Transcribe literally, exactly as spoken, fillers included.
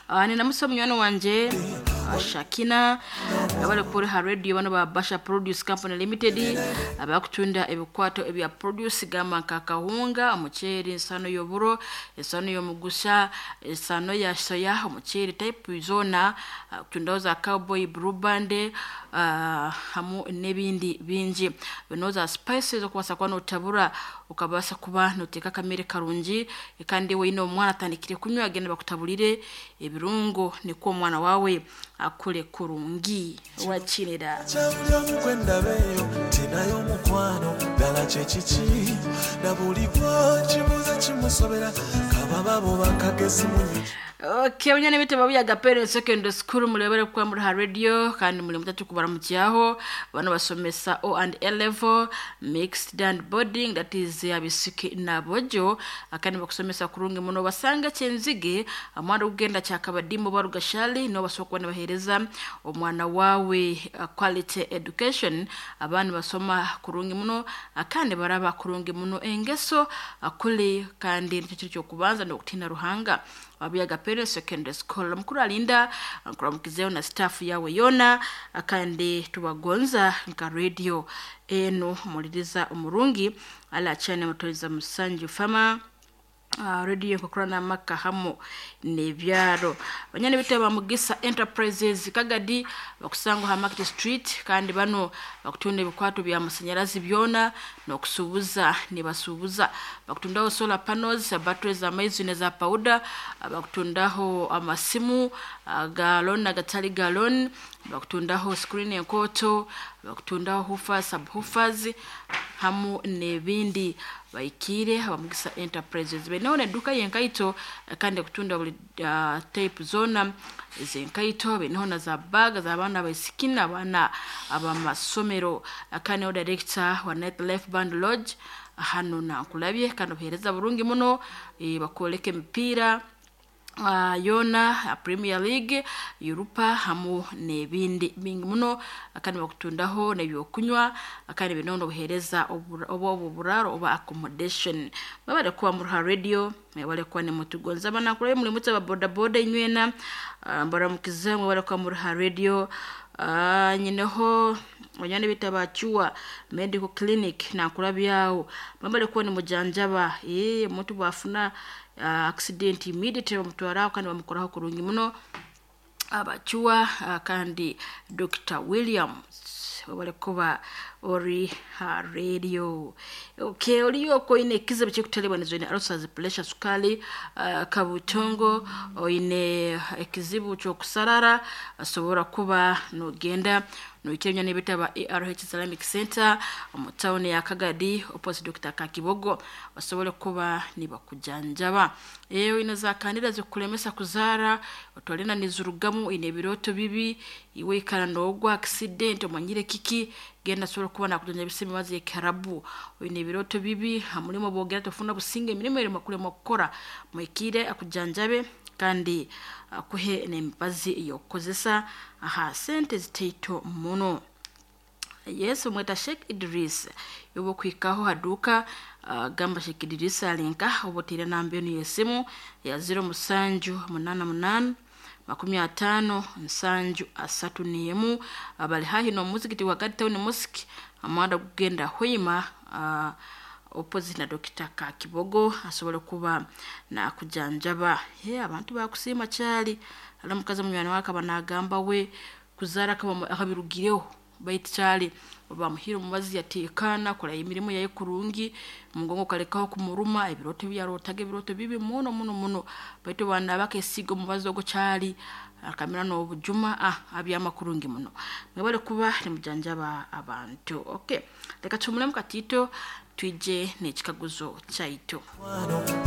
Uh, ninamusa munywani wanje uh, Shakina abali kuri ha radio bano ba Basha Produce Company Limited abakutunda ebikwato ebya produce gamba nka kawunga, omuceeri, ensano y'oburo, ensano y'omugusa, ensano ya soya, omuceeri type zona, uh, kutundaho za Cowboy, Blue Band, uh, hamu n'ebindi bingi bino za spices okubasa kuba notabura okabasa kuba noteeka akamere karungi. Kandi weine omwana atandikire kunywa, agenda bakutabulire ebirungo nikwo omwana wawe akule kurungi wakinira. Kyabuli omu gwe ndabeeyo tinayo omukwano ddala kyekiki na buli gwokibuuza kimusobera kababa bo bakagezi munyi. Okay, munyana bitabo bya Gapere Secondary School mulebere kwa muri ha radio kandi muri mutatu kubaramukiyaho bano basomesa O and A level mixed and boarding, that is abisiki na bojo, akandi bakusomesa kurungi muno. Basanga kyenzige amwana ugenda kyakabadimu barugashali no basokwa bahereza omwana wawe uh, quality education. Abana basoma kurungi muno akandi baraba kurungi muno engeso akuli kandi nicyo cyo kubanza no kutina Ruhanga. Wabya Gapere Secondary School mukuru alinda nkuramukizeyo na staff yawe yona akandi tubagonza nka radio eno muliriza omurungi ala chane mutoriza musanju fama. Uh, radio nkokorana maka hamu nebyaro banyane bitaba Mugisa Enterprises Kagadi bakusangwa ha Market Street kandi bano bakutunda ebikwato bya masanyarazi byona nokusubuza nibasubuza bakutundaho solar panels, batteries za maizi ne za powder, bakutundaho amasimu galon na gatali galon, bakutundaho screen enkoto, bakutundaho hufa subwoofers hamu nebindi. Baikire Abamugisa Enterprises beneho neduka yenkaito kandi kutunda buli uh, type zona zenkaito, beneho na za bag z'abaana abaisiki, abaana abamasomero. Kandi o director wa Night Life Band Lodge hano nankulabye kandi obuhereza burungi muno e, bakoleka emipiira uh, yona Premier League, Europa hamu nebindi bingi muno kandi bakutundaho nebyokunywa kandi binono obuhereza oba oburaro oba accommodation. Babale kuba mu radio mwebale kuba ne mutugonza bana kulabe muri mutse ba boda boda inywena uh, mbaramukize mwebale kuba mu radio. uh, nyineho banyane bitabachuwa medical clinic nakulabyawo babale kuba ne mujanjaba eh omuntu bwafuna uh, accident immediately bamutwaraho kandi bamukoraho kurungi muno abachuwa. uh, kandi Doctor Williams wabale kuba ori ha radio. Okay, oliyo koine kizibu kyekutalibwa nizo ine ulcers, pressure, sukali, uh, kabutongo oine ekizibu kyokusarara asobora kuba nogenda noikenya nebitaba A R H Islamic Center mu town ya Kagadi opposite Doctor Kakibogo basobole kuba nibakujanjaba. Eyo ina kandida zikulemesa kuzara otwalina nizurugamu ine biroto bibi iwe ikana nogwa accident omanyire kiki genda sobola kuba nakujanja bisemi mazi ekarabu oine biroto bibi hamulimo bogera tofuna businge emirimo eri makule mokora mwikire akujanjabe kandi akuhe n'emibazi yokukozesa aha sente ziteito muno. Yesu mweta Sheikh Idris yobo kwikaho haduka uh, gamba Sheikh Idris alinka obotire namba eno yesimu ya zero musanju munana munana makumi atano nsanju asatu niemu abali hahi no muzikiti wa Gadi Town Mosque amanda kugenda hoima uh, opposite na Doctor Kakibogo asobole kuba na kujanjaba. He abantu bakusima kyali ala mukazi munywani wake banagamba we kuzara kaba akabirugireho baitu kyali bamuhira omubazi yatekana kola emirimu yaye kurungi mugongo kalekaho kumuruma ebiroto byarotaga ebiroto bibi muno muno muno baitu bana bakesiga omubazi ogwo kyali akamira n'obujuma ah abyama kurungi muno mwebale kuba nimujanjaba abantu. Okay, reka tumule mukatito twije n'ekikaguzo kyaitu.